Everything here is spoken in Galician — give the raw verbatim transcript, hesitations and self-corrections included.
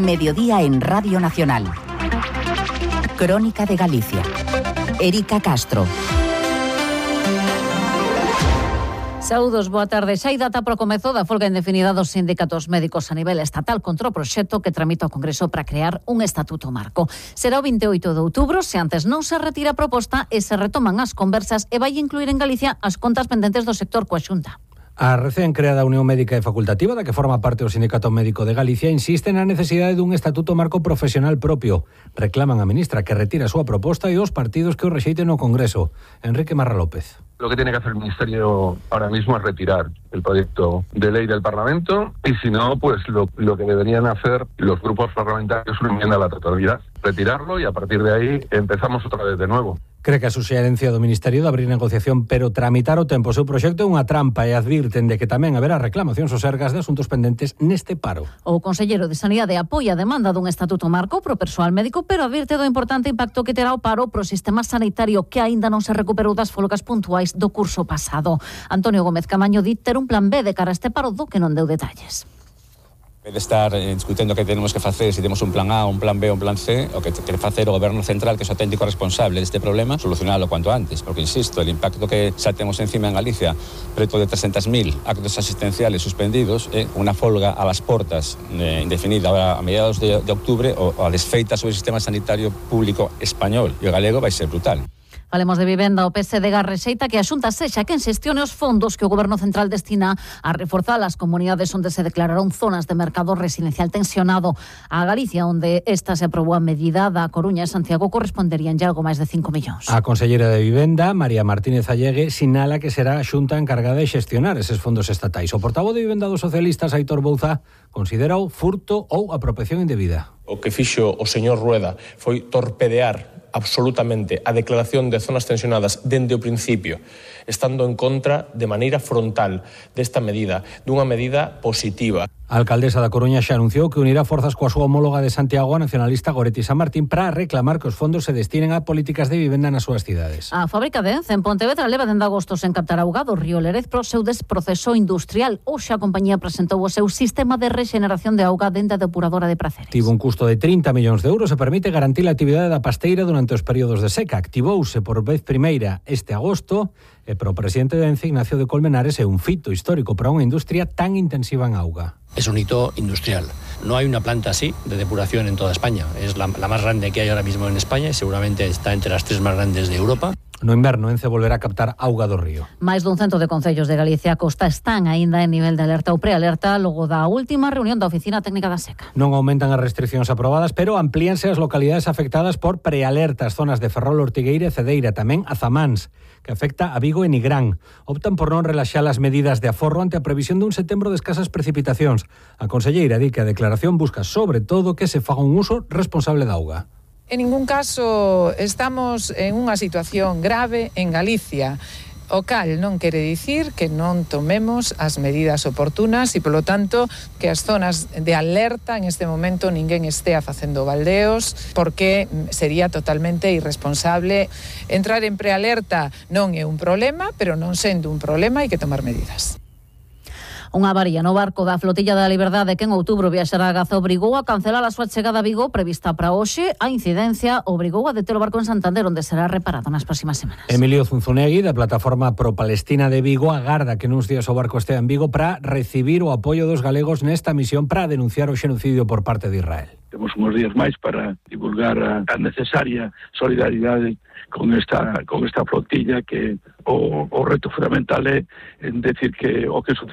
Mediodía en Radio Nacional. Crónica de Galicia. Erika Castro. Saúdos, boa tarde. Xa hai data para o comezo da folga indefinida dos sindicatos médicos a nivel estatal contra o proxecto que tramita o Congreso para crear un estatuto marco. Será o vinte e oito de outubro, se antes non se retira a proposta e se retoman as conversas e vai incluir en Galicia as contas pendentes do sector coa Xunta. A recén creada Unión Médica e Facultativa, da que forma parte o Sindicato Médico de Galicia, insiste na necesidade dun estatuto marco profesional propio. Reclaman a ministra que retire a súa proposta e os partidos que o rexeiten no Congreso. Enrique Marra López. Lo que tiene que hacer el Ministerio ahora mismo es retirar el proyecto de ley del Parlamento y si no, pues lo, lo que deberían hacer los grupos parlamentarios es una enmienda a la totalidad, retirarlo y a partir de ahí empezamos otra vez de nuevo. Cree que a suxerencia do Ministerio de abrir negociación pero tramitar o tempo o seu proxecto é unha trampa e advirten de que tamén haberá reclamacións ou sergas de asuntos pendentes neste paro. O conselleiro de Sanidade apoia a demanda dun estatuto marco pro persoal médico, pero advirte do importante impacto que terá o paro pro sistema sanitario que aínda non se recuperou das folgas puntuais do curso pasado. Antonio Gómez Camaño di ter un plan B de cara a este paro do que non deu detalles. En vez de estar eh, discutindo que tenemos que facer, se si temos un plan A, un plan B, un plan C, o que quere facer o Goberno Central, que é o auténtico responsable deste problema, solucionalo cuanto antes, porque, insisto, el impacto que xa temos encima en Galicia, preto de trescentos mil actos asistenciales suspendidos, eh, unha folga a las portas eh, indefinida ahora a mediados de, de octubre, o, o a desfeita sobre o sistema sanitario público español e o galego vai ser brutal. Falemos de vivenda. O P S D G rexeita que a Xunta sexa quen xestione os fondos que o Goberno Central destina a reforzar as comunidades onde se declararon zonas de mercado residencial tensionado. A Galicia, onde esta se aprobou a medida, da Coruña e Santiago corresponderían ya algo máis de cinco millóns. A conselleira de Vivenda, María Martínez Allegue, sinala que será a Xunta encargada de xestionar eses fondos estatais. O portavoz de Vivenda dos socialistas, Aitor Bouza, considera o furto ou apropiación indebida. O que fixo o señor Rueda foi torpedear absolutamente a declaración de zonas tensionadas dende o principio, estando en contra de maneira frontal desta medida, dunha medida positiva. A alcaldesa da Coruña xa anunciou que unirá forzas coa súa homóloga de Santiago, a nacionalista Goretti San Martín, para reclamar que os fondos se destinen a políticas de vivenda nas súas cidades. A fábrica de Ence en Pontevedra leva dende agosto sen captar auga do río Lerez pro seu desproceso industrial. Hoxe a compañía presentou o seu sistema de rexeneración de auga dende a depuradora de Praceres. Tivo un custo de trinta millóns de euros e permite garantir a actividade da pasteira durante os períodos de seca. Activouse por vez primeira este agosto e para o presidente de Ence, Ignacio de Colmenares, é un fito histórico para unha industria tan intensiva en auga. Es un hito industrial. No hay una planta así de depuración en toda España. Es la, la más grande que hay ahora mismo en España y seguramente está entre las tres más grandes de Europa. No inverno, Ence volverá a captar auga do río. Máis dun cento de concellos de Galicia a Costa están aínda en nivel de alerta ou prealerta logo da última reunión da Oficina Técnica da Seca. Non aumentan as restriccións aprobadas, pero amplíanse as localidades afectadas por prealerta, as zonas de Ferrol, Ortigueira e Cedeira, tamén a Zamáns, que afecta a Vigo e Nigrán. Optan por non relaxar as medidas de aforro ante a previsión dun setembro de escasas precipitacións. A conselleira di que a declaración busca sobre todo que se faga un uso responsable da auga. En ningún caso estamos en unha situación grave en Galicia, o cal non quere dicir que non tomemos as medidas oportunas e, polo tanto, que as zonas de alerta en este momento ninguén estea facendo baldeos, porque sería totalmente irresponsable. Entrar en prealerta non é un problema, pero non sendo un problema hai que tomar medidas. Unha avaría no barco da Flotilla da Liberdade que en outubro viaxará a Gaza obrigou a cancelar a súa chegada a Vigo prevista para hoxe. A incidencia obrigou a deter o barco en Santander, onde será reparado nas próximas semanas. Emilio Zunzunegui, da plataforma pro-palestina de Vigo, agarda que nuns días o barco estea en Vigo para recibir o apoio dos galegos nesta misión para denunciar o xenocidio por parte de Israel. Temos uns días máis para divulgar a, a necesaria solidaridade con esta con esta flotilla, que o, o reto fundamental é en decir que o que sucede